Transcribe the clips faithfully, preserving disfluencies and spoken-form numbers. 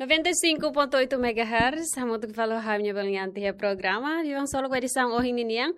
Noventa e cinco ponto oito megahertz, hamutuk fali ho ha'u-nia belun Yanti iha programa Biban Solok ba edisaun ohin ninian.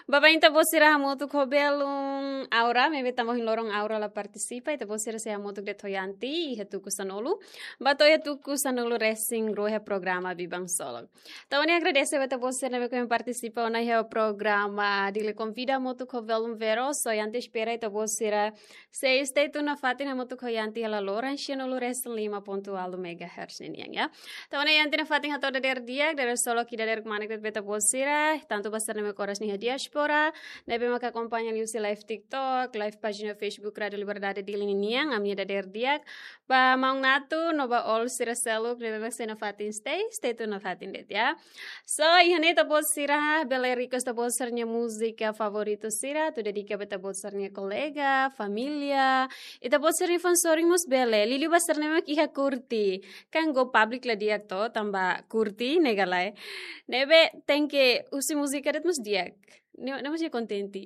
Baibain ita-boot sira hamutuk ho belun Aura, maibé tanba ohin loron Aura la partisipa, ita-boot sira sei hamutuk de'it ho Yanti iha tuku sanulu, ba to'o iha tuku sanulu-resin-rua iha programa Biban Solok. Entaun ha'u agradese ba ita-boot sira ne'ebé ke partisipa ona iha programa Dili Konvida hamutuk ho belun Vero, so Yanti espera ita-boot sira sei stay tune nafatin hamutuk ho Yanti iha laloran sianulu-resin-lima ponto ualu megahertz ninian, ya. Entaun Yanti nafatin hato'o dadeer di'ak, dadeer solok ida dadeer kmanek de'it ba ita-boot sira, tantu ba sira ne'ebé ke oras ne'e iha diáspora, ne'ebé maka akompaña liuhusi live TikTok, live pájina Facebook Rádio Liberdade Dili ninian, ami-nia dadeer di'ak, ba maun Natu, no ba all sira seluk, ne'ebé mak sei nafatin stay, stay tune nafatin de'it, ya. So, iha ne'e ita-boot sira bele request ita-boot sira-nia múzika favoritu sira, atu dedika ba ita-boot sira-nia kolega, família, ita-boot sira-nia fã sorin mós bele, liuliu ba sira ne'ebé mak iha Kurti. Kan go public la di'ak to, tanba Kurti, ne'e ka lae. Ne'ebé tenke husi múzika de'it mós di'ak. Ne'e, ne'e mós kontente.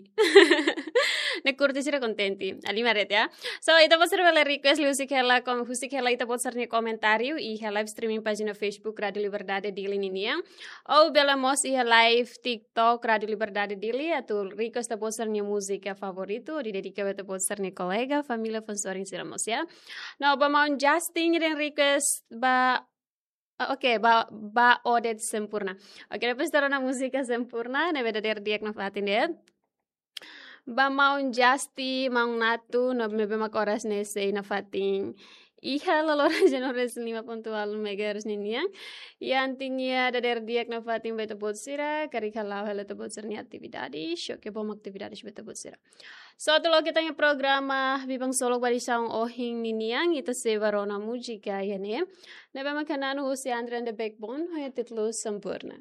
Ne'e Kurti sira kontente. Halimar de'it, ya. So, ita-boot sira bele request liuhusi hela, kom-, husik hela ita-boot sira-nia komentáriu iha live streaming pájina Facebook Rádio Liberdade Dili ninian. Ou bele mós iha live TikTok Rádio Liberdade Dili, atu request ita-boot sira-nia múzika favoritu, hodi dedika ba ita-boot sira-nia kolega, família, fã sorin sira mós, ya. No, ba maun Justin nia request ba, ah, oke, ba, ba Odet Sempurna. Oke, depois ita rona múzika Sempurna, ne'ebé dadeer di'ak nafatin de'it. Ba maun Justin, maun Natu, no ne'ebé mak oras ne'e sei nafatin iha laloran sianulu-resin-lima ponto ualu megahertz ninian. Yanti nia dadeer di'ak nafatin ba ita-boot sira, karik hala'o hela ita-boot sira-nia atividade, xoke bom atividade ba ita-boot sira. So, atu loke ita-nia programa Biban Solok ba edisaun ohin ninian, ita sei bá rona múzika iha ne'e. Ne'ebé mak hanesan husi Andre and the Backbone, ho títulu Sempurna.